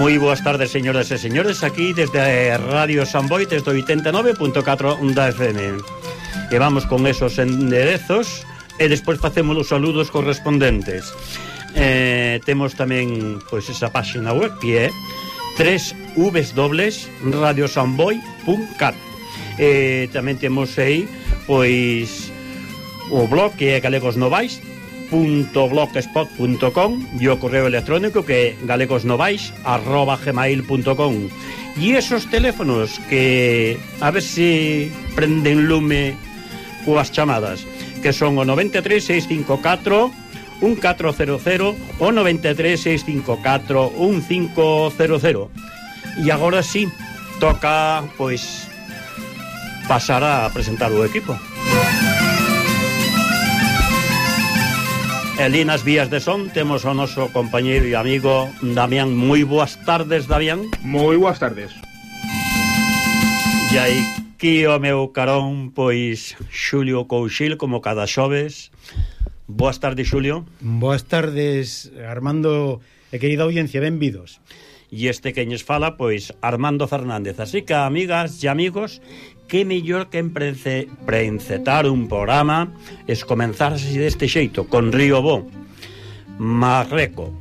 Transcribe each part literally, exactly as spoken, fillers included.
Moi boas tardes, señoras e señores, aquí desde Radio San Boi, desde oitenta e nove punto catro da F M. E vamos con esos enderezos e despois facemos os saludos correspondentes. Eh, temos tamén pois esa páxina web que é w w w punto radio san boi punto cat. Eh, tamén temos aí pois o blog que é galegosnovais punto blogspot punto com e o correo electrónico que é galegosnovais arroba gmail punto com. E esos teléfonos que a ver se prenden lume coas chamadas, que son o noventa e tres, seiscentos cincuenta e catro, un catro cero cero o noventa e tres, seiscentos cincuenta e catro, un cinco cero cero. E agora sí, toca pois pasar a presentar o equipo. E nas vías de son temos o noso compañeiro e amigo Damián. Moi boas tardes, Damián. Moi boas tardes. E aquí o meu carón, pois, Xulio Couchil, como cada xoves. Boas tardes, Xulio. Boas tardes, Armando e querida audiencia, benvidos. E este queñes fala, pois, Armando Fernández. Así que, amigas e amigos, que mellor que emprece, preencetar un programa es comenzar así deste xeito, con Río Bo, Marreco.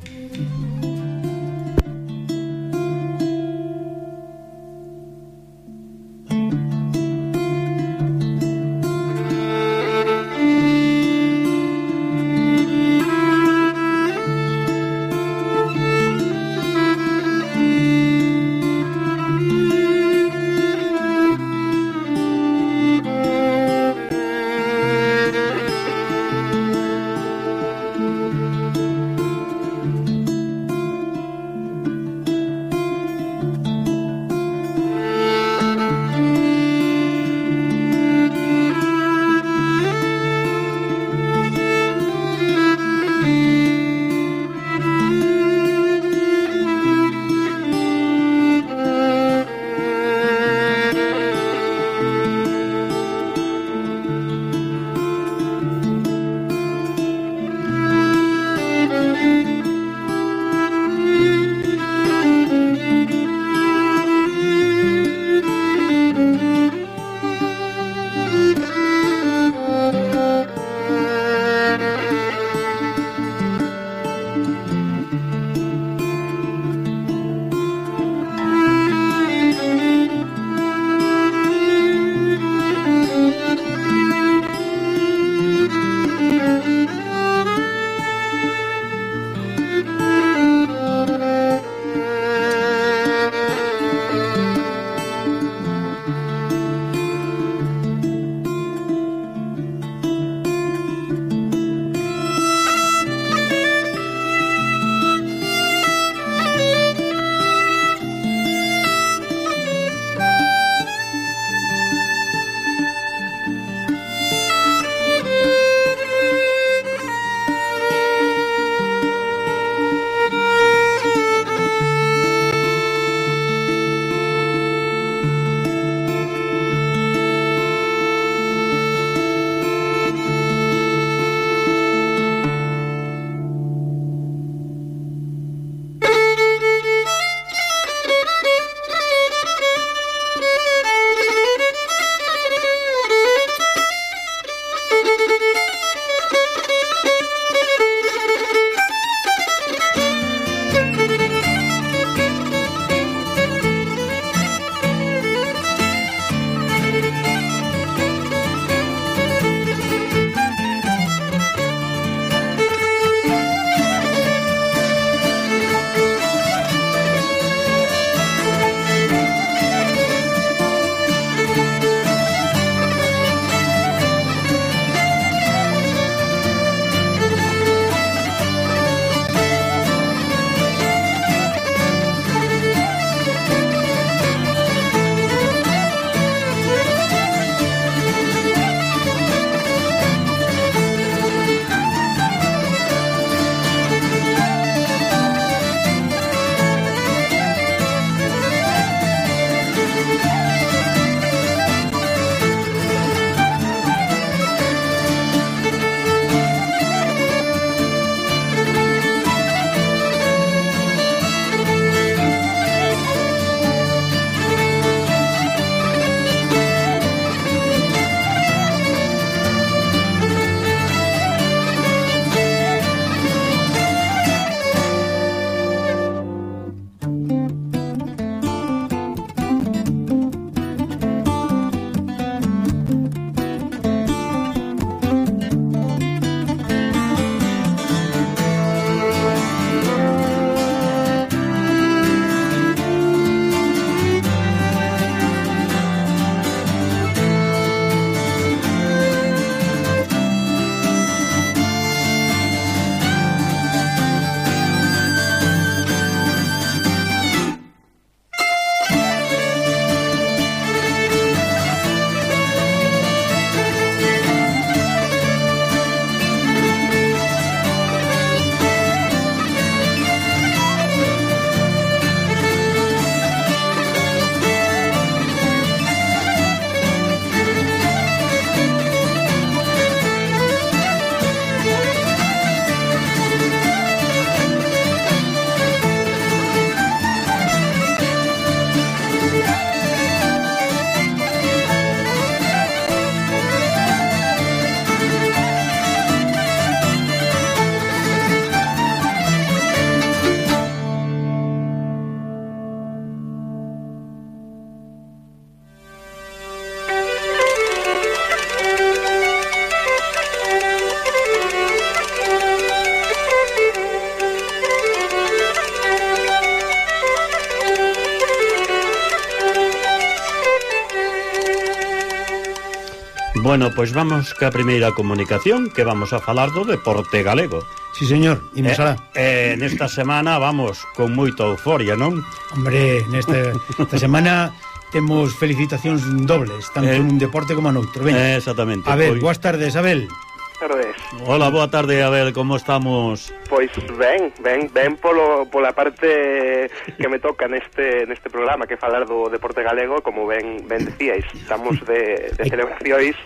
Bueno, pois pues vamos ca primeira comunicación, que vamos a falar do deporte galego. Sí, señor, imos eh, alá. Eh, nesta semana vamos con moita euforia, non? Hombre, nesta esta semana temos felicitacións dobles, tanto eh, nun deporte como noutro. Eh, exactamente. A ver, pois... boas tardes, Abel. Tardes. Hola, boa tarde, Abel, como estamos? Pois ben, ben, ben polo, pola parte que me toca neste neste programa, que falar do deporte galego, como ben ben decíais, estamos de, de celebracións.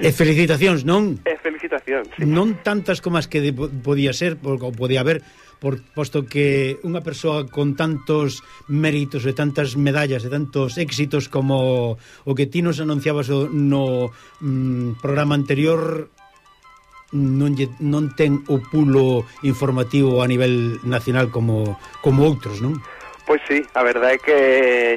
E felicitacións, non? E felicitacións, sí. Non tantas como as que de, podía ser, ou podía haber, por, posto que unha persoa con tantos méritos e tantas medallas e tantos éxitos como o que ti nos anunciabas no mm, programa anterior, non, lle, non ten o pulo informativo a nivel nacional como, como outros, non? Pois sí, a verdade é que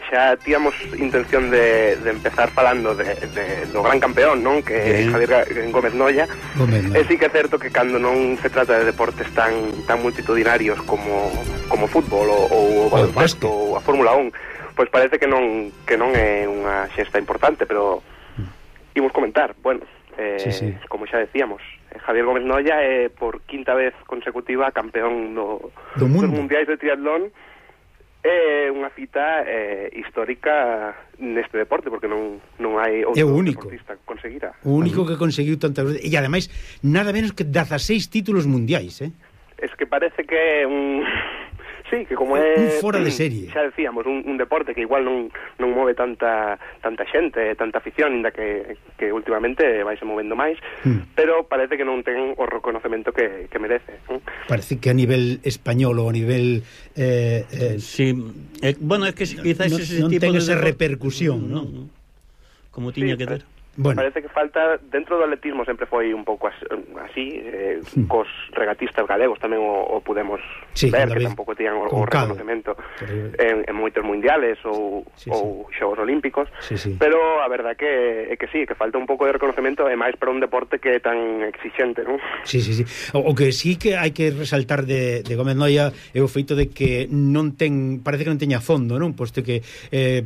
xa tíamos intención de, de empezar falando de, de, do gran campeón, non? Que é sí. Javier Gómez Noya. Gómez Noya. E sí que é certo que cando non se trata de deportes tan tan multitudinarios como como fútbol ou, ou o baloncesto ou a Fórmula un, pois parece que non que non é unha xesta importante, pero imos comentar, bueno, eh, sí, sí. como xa decíamos, Javier Gómez Noya é por quinta vez consecutiva campeón no, do mundo. dos mundiais de triatlón. É unha cita eh, histórica neste deporte, porque non, non hai outro deportista que conseguira. O único que conseguiu tantas veces, e ademais nada menos que dezaseis títulos mundiais, eh? Es que parece que é un... Sí, que como é... Un fora de serie. Xa decíamos, un, un deporte que igual non, non move tanta tanta xente, tanta afición, inda que, que últimamente vaise movendo máis, mm. pero parece que non ten o reconocemento que, que merece. ¿eh? Parece que a nivel español ou a nivel... Eh, eh, sí, eh, bueno, é que quizás no, ese non tipo ten de esa deporte, repercusión, non? No, no, como tiña sí, que ter. Bueno. Parece que falta, dentro do atletismo sempre foi un pouco así, eh, mm. cos regatistas galegos tamén o, o pudemos sí, ver, que tampouco tiñan o, o reconocemento en, en moitos mundiales ou, sí, ou sí. xogos olímpicos, sí, sí. pero a verdad que é que sí, que falta un pouco de reconocemento, e máis para un deporte que é tan exixente, non? Sí, sí, sí. O, o que sí que hai que resaltar de, de Gómez Noya é o feito de que non ten, parece que non teña fondo, non? Posto que eh,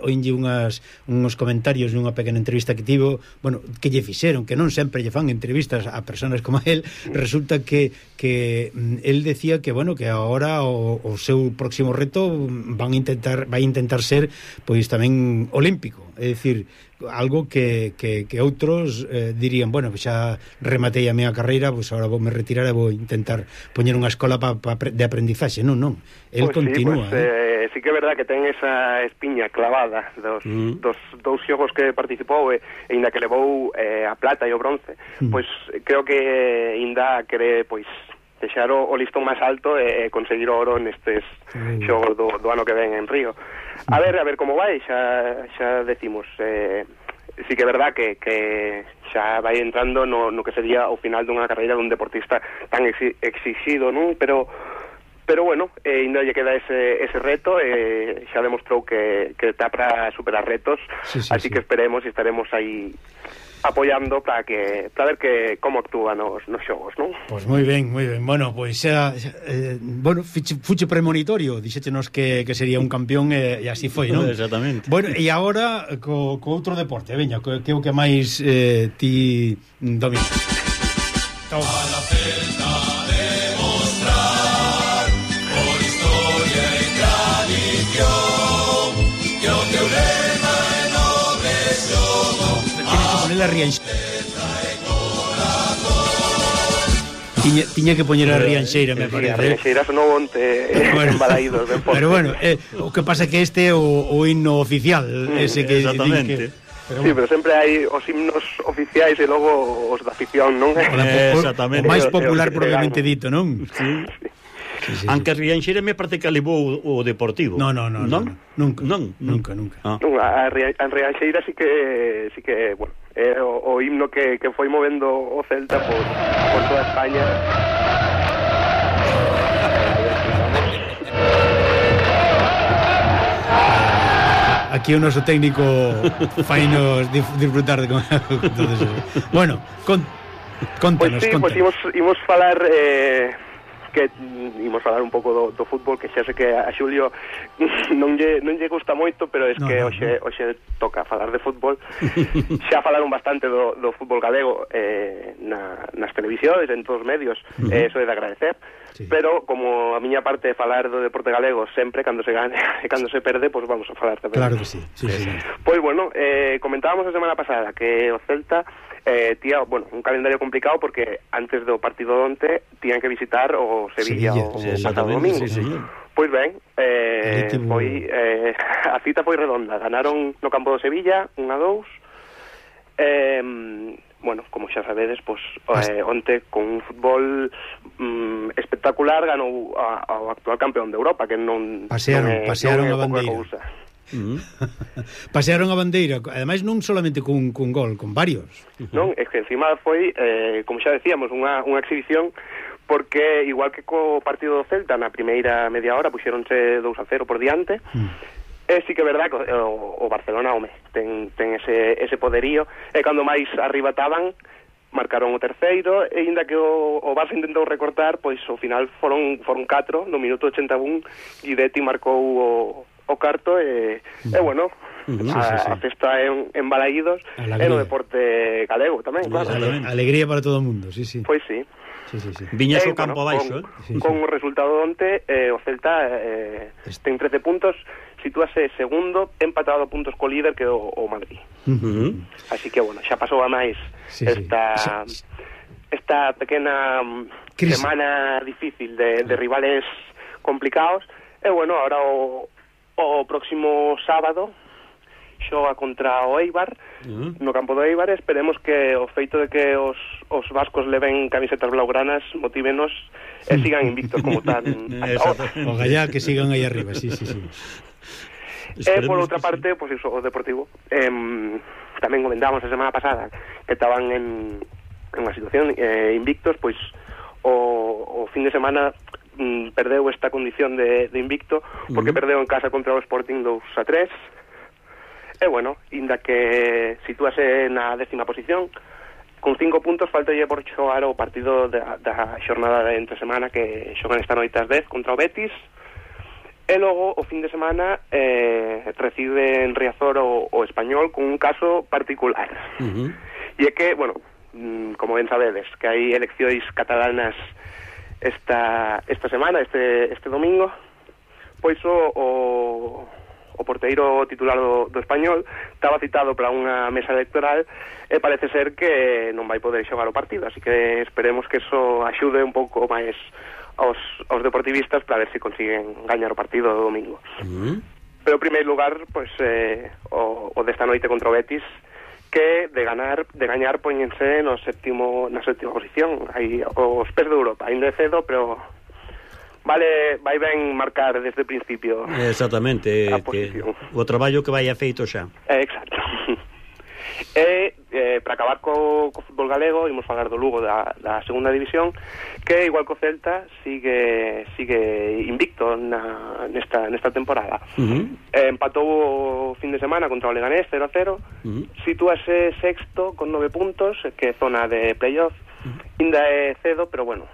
oínlle unhas uns comentarios nunha pequena entrevista que tivo, bueno, que lle fixeron, que non sempre lle fan entrevistas a persoas como él, resulta que que él decía que, bueno, que agora o, o seu próximo reto van a intentar vai intentar ser pois tamén olímpico, é dicir, algo que, que, que outros eh, dirían, bueno, xa rematei a miña carreira, pois agora vou me retirar e vou intentar poñer unha escola pa, pa, de aprendizaxe. Non, non, el pues continúa. Sí, pues, eh, sí que é verdad que ten esa espiña clavada dos, mm. dos dous xogos que participou e, e ainda que levou eh, a plata e o bronce, mm. pois creo que ainda quere pois deixar o, o listón máis alto e conseguir o oro nestes mm. xogos do, do ano que ven en Río. A ver, a ver como vai, xa, xa decimos, eh, sí que é verdad que, que xa vai entrando no, no que sería o final dunha carreira dun deportista tan exi, exixido, non? Pero, pero bueno, eh, ainda lle queda ese, ese reto, e eh, xa demostrou que, que está para superar retos, sí, sí, así sí. que esperemos e estaremos aí apoiando para que para ver que como actúa nos, nos xogos, non? Pois moi ben, moi ben. Bueno, pois xa, xa eh, bueno, fiche, fuche premonitorio, dixéchenos que, que sería un campeón e, e así foi, non? Exactamente. Bueno, e agora co, co outro deporte, veña, que, que é o que máis eh, ti dominas. A la celta demostrar por historia e tradición que o teu lema é nobre xogo. La Rianxeira. Tiña, tiña que poñer a Rianxeira, me sí, parece. A Rianxeira sonou onte bueno, en Balaídos, ben forte. Pero bueno, eh, o que pasa é que este é o, o himno oficial, mm, ese que exactamente. Que, pero sí, bueno. pero sempre hai os himnos oficiais e logo os da afición, non? Eh, exactamente. O máis popular probablemente dito, non? Sí. Sí, sí, Aunque sí. Rianxeira me parece que levou o Deportivo. No, no, no, non? no, no. Nunca, non, nunca, nunca. Ah. Non, a, a Rianxeira sí que sí que, bueno, é o, o himno que, que foi movendo o Celta por, por toda España. Aquí o noso técnico fainos disfrutar de con todo eso. Bueno, con, contanos, Pois sí, contanos. pois imos, imos falar eh, que mm, imos falar un pouco do, do fútbol, que xa sei que a Xulio non lle, non lle gusta moito, pero es no, que no, hoxe, no. hoxe toca falar de fútbol. Xa falaron bastante do, do fútbol galego eh, na, nas televisións, en todos os medios, uh-huh. eh, eso é de agradecer, sí. Pero como a miña parte é falar do deporte galego sempre, cando se gane e cando se perde, pois pues vamos a falar tamén. Claro que sí, sí, sí. Pois pues bueno, eh, comentábamos a semana pasada que o Celta eh, tía, bueno, un calendario complicado porque antes do partido de onte tían que visitar o Sevilla, Sevilla o sí, pasado domingo. Sí, sí. Pois ben, eh, foi, eh, a cita foi redonda. Ganaron no campo do Sevilla, un a dous. Eh, bueno, como xa sabedes, pois, eh, onte con un fútbol mm, espectacular ganou a, ao actual campeón de Europa, que non pasearon, non é, pasearon non é a bandeira. Uh-huh. Pasearon a bandeira, ademais non solamente cun, cun gol, con varios. Uh-huh. Non, é que encima foi, eh, como xa decíamos, unha, unha exhibición, porque igual que co partido do Celta na primeira media hora puxéronse dous a cero por diante. Mm. É sí que é verdad que o, o Barcelona, home, ten, ten ese, ese poderío, e cando máis arriba estaban, marcaron o terceiro, e ainda que o, o Barça intentou recortar, pois ao final foron foron catro, no minuto ochenta e un, Guidetti marcou o, o carto, e, mm. e bueno, uh-huh. a, sí, sí, sí. a festa en, en Balaídos, e no deporte galego tamén, claro. Alegría para todo o mundo, sí, sí. Pois sí. Sí, sí, sí. Viñas eh, o campo bueno, abaixo, con, eh? Sí, con sí. o resultado onte, eh, o Celta eh, ten trece puntos, sitúase segundo, empatado a puntos co líder que o, o Madrid. Uh-huh. Así que, bueno, xa pasou a máis sí, esta sí. esta pequena Crisis. semana difícil de, de rivales complicados. E, bueno, ahora o, o próximo sábado xoga contra o Eibar, uh-huh. no campo do Eibar. Esperemos que o feito de que os, os vascos leven camisetas blaugranas motívenos e sigan invictos como tan hasta ahora. O gallá que sigan aí arriba, sí, sí, sí. E por outra parte, pois pues iso, o Deportivo eh, tamén comentamos a semana pasada que estaban en, en unha situación eh, invictos, pois o, o fin de semana mm, perdeu esta condición de, de invicto porque uh-huh. perdeu en casa contra o Sporting dous a tres. E, bueno, inda que sitúase na décima posición, con cinco puntos, faltalle por xogar o partido da, da xornada de entre semana que xogan esta noite ás dez contra o Betis. E logo, o fin de semana, eh, recibe en Riazor o, o Español con un caso particular. Uh-huh. E é que, bueno, como ben sabedes, que hai eleccións catalanas esta, esta semana, este, este domingo, pois o... o o porteiro titular do, do Español estaba citado para unha mesa electoral e parece ser que non vai poder xogar o partido, así que esperemos que eso axude un pouco máis aos, aos deportivistas para ver se consiguen gañar o partido do domingo. Uh-huh. Pero en primeiro lugar, pois, eh, o, o desta noite contra o Betis, que de ganar, de gañar poñense no séptimo, na séptima posición, aí os pés de Europa, ainda é cedo, pero vale, vai ben marcar desde o principio. Exactamente, que o traballo que vai feito xa. Eh, exacto. E, eh, para acabar co, co fútbol galego, imos falar do Lugo da, da segunda división, que igual co Celta sigue sigue invicto na, nesta, nesta temporada. Uh-huh. eh, empatou o fin de semana contra o Leganés cero a cero. Uh-huh. Sitúase sexto con nove puntos, que é zona de playoff. Uh-huh. Ainda é cedo, pero bueno,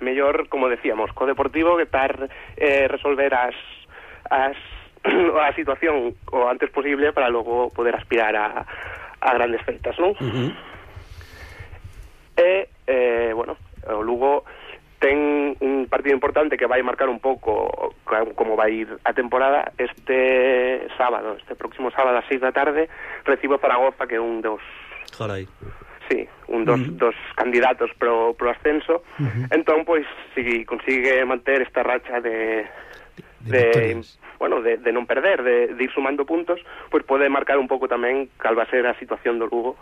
mellor, como decíamos, co Deportivo que tar eh, resolver as, as a situación o antes posible para logo poder aspirar a, a grandes feitas, non? Uh-huh. E, eh, bueno, o Lugo ten un partido importante que vai marcar un pouco como vai ir a temporada. Este sábado, este próximo sábado a seis da tarde, recibe o Zaragoza, que é un dos... Carai. Sí, un dos, uh-huh. dos candidatos pro, pro ascenso. Uh-huh. Entón, pois, si consigue manter esta racha de, de, de bueno, de, de non perder, de, de ir sumando puntos, pois pode marcar un pouco tamén cal va a ser a situación do Lugo.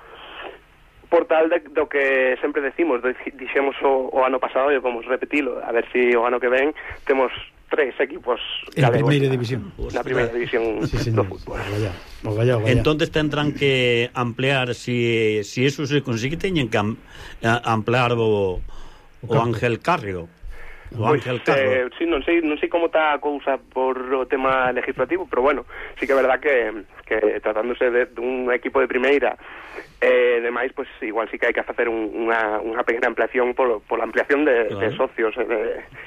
Por tal de, do que sempre decimos, dixemos o, o ano pasado, e vamos repetilo, a ver si o ano que ven temos tres equipos en la primeira división. Na primeira división sí, do fútbol. Vaya, vaya, vaya. Entonces tendrán que ampliar, si, si eso se consigue, teñen que am, ampliar o, o Ángel Carrio. o Pois, Ángel Carro. eh, sí, non sei, non sei como está a cousa por o tema legislativo, pero bueno, sí que é verdad que, que tratándose de, de un equipo de primeira, eh, demais, pues igual sí que hai que facer un, unha, unha pequena ampliación por, por la ampliación de, claro. de socios e de,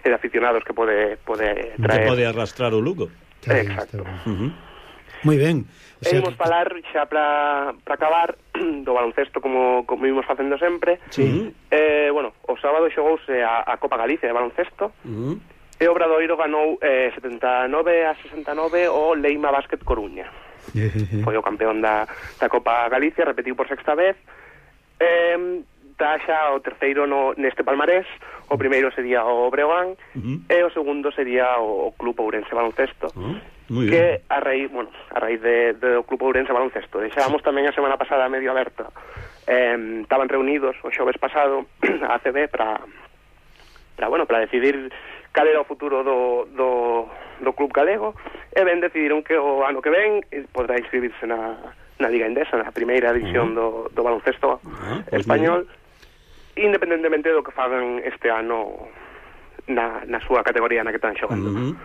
de aficionados que pode, pode traer. Que pode arrastrar o Lugo. Exacto. Uh -huh. Moi ben. O sea, e imos falar xa para acabar do baloncesto como, como imos facendo sempre. Sí. Eh, bueno, o sábado xogouse a, a Copa Galicia de baloncesto. Uh -huh. E o Obradoiro ganou eh, setenta e nove a sesenta e nove o Leima Basket Coruña. Foi o campeón da, da Copa Galicia, repetiu por sexta vez. Eh, está xa o terceiro no, neste palmarés. O primeiro sería o Breogán, uh -huh. e o segundo sería o Club Ourense Baloncesto. Uh -huh. Muy que bien. a raíz, bueno, a raíz de, de o Club Ourense Baloncesto. Deixábamos tamén a semana pasada medio aberta. Eh, estaban reunidos o xoves pasado a A C B para para bueno, para decidir cal era o futuro do, do, do club galego, e ben decidiron que o ano que ven podrá inscribirse na, na Liga Endesa, na primeira división uh -huh. do, do baloncesto uh -huh. español, independentemente do que fagan este ano na, na súa categoría na que están xogando. Uh -huh.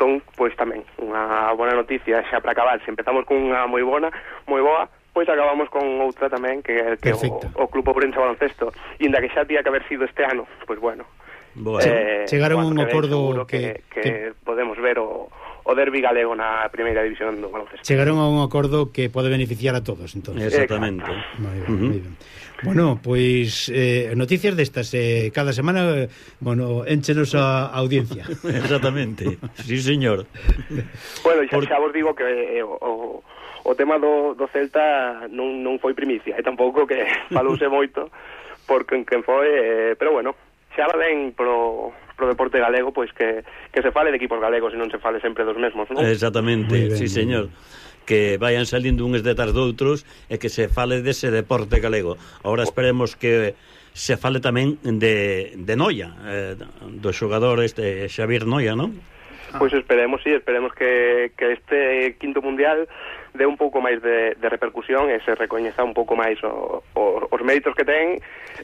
Entón, pois tamén, unha bona noticia xa para acabar. Se empezamos con unha moi bona, moi boa, pois acabamos con outra tamén, que, que o, o Club Ourense Baloncesto, inda que xa tía que haber sido este ano, pois bueno. Bueno. Eh, chegaron un acordo que, que, que, que podemos ver o, o derbi galego na primeira división do baloncesto. Chegaron a un acordo que pode beneficiar a todos, entonces. Exactamente. Moi ben, uh -huh. moi ben. Bueno, pois eh, noticias destas eh, cada semana, eh, bueno, énchenos a audiencia. Exactamente. Sí, señor. Bueno, xa, Por... xa vos digo que eh, o, o tema do, do Celta non, non foi primicia, e tampouco que falouse moito por quen, quen foi, eh, pero bueno, xa va ben pro, pro deporte galego, pois que, que se fale de equipos galegos e non se fale sempre dos mesmos, non? Exactamente, ben, sí, señor. Que vayan salindo uns detrás doutros e que se fale dese deporte galego. Ahora esperemos que se fale tamén de, de Noia, eh, do xogador este Xavier Noia, non? Pois esperemos, sí, esperemos que, que este quinto mundial dé un pouco máis de, de repercusión e se recoñeza un pouco máis o, o, os méritos que ten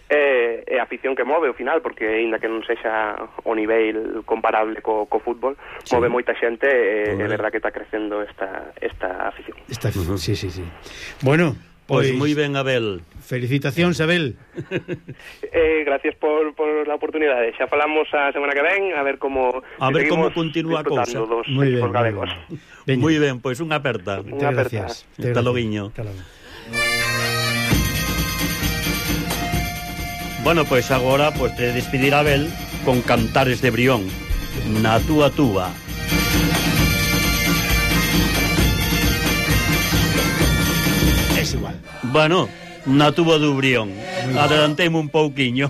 e, e a afición que move ao final, porque aínda que non sexa o nivel comparable co, co fútbol, sí. Move moita xente e é verdad que está crecendo esta, esta afición. Esta, uh -huh. Sí, sí, sí. Bueno, pois pues moi ben, Abel. Felicitacións, Abel. eh, gracias por, por la oportunidade. Xa falamos a semana que ven, a ver como a ver como continúa a cousa. Moi ben, galegos. Moi ben, pois unha aperta. Unha aperta. Hasta loguiño. Bueno, pois agora pues, te despedir a Abel con Cantares de Brión, na túa túa. Es igual. Bueno, na túa do Brión. Adelantemos un pouquiño.